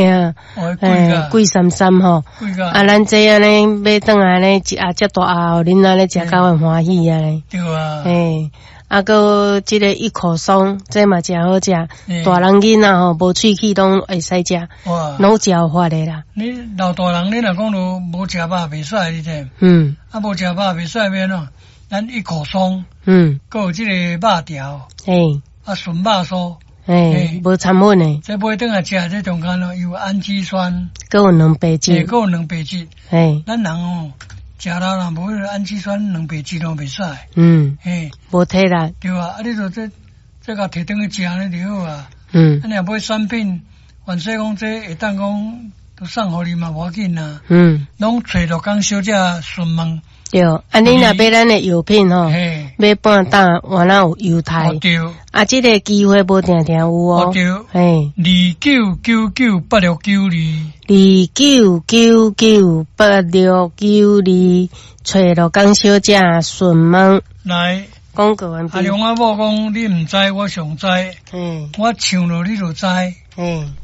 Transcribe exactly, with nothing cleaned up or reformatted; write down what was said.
啊，欸，貴參參吼。啊，咱這按呢買轉來呢，一盒遮大盒，恁按呢食甲會歡喜按呢。對啊。欸，啊，閣這個一口鬆，這嘛誠好食，大人囡仔吼無喙齒攏會使食，攏有嚼法的啦。你老大人，你若講著無食肉袂使，你知？嗯。啊，無食肉袂使欲按怎？咱一口鬆，嗯，閣有這個肉條，欸，啊，純肉酥。欸，無摻粉的。這買轉來食，這中間咯有氨基酸，閣有蛋白質，閣有蛋白質。欸，咱人哦，食了若無彼个氨基酸、蛋白質攏袂使。嗯，嘿，無體力。對啊，啊，你著這這共提轉去食呢就好啊。嗯。啊，你若買產品，凡說講這會當講都送予你嘛無要緊啊。嗯。攏揣鹿港小姐詢問。對，啊，你若買咱的藥品吼，買半擔，原來有優待。對。啊，這個機會無定定有哦。對。嘿。二九九九八六九二。二九九九八六九二，揣鹿港小姐詢問。來。廣告完畢。阿龍阿某講，你毋知，我上知。嗯。我唱落你就知。嗯。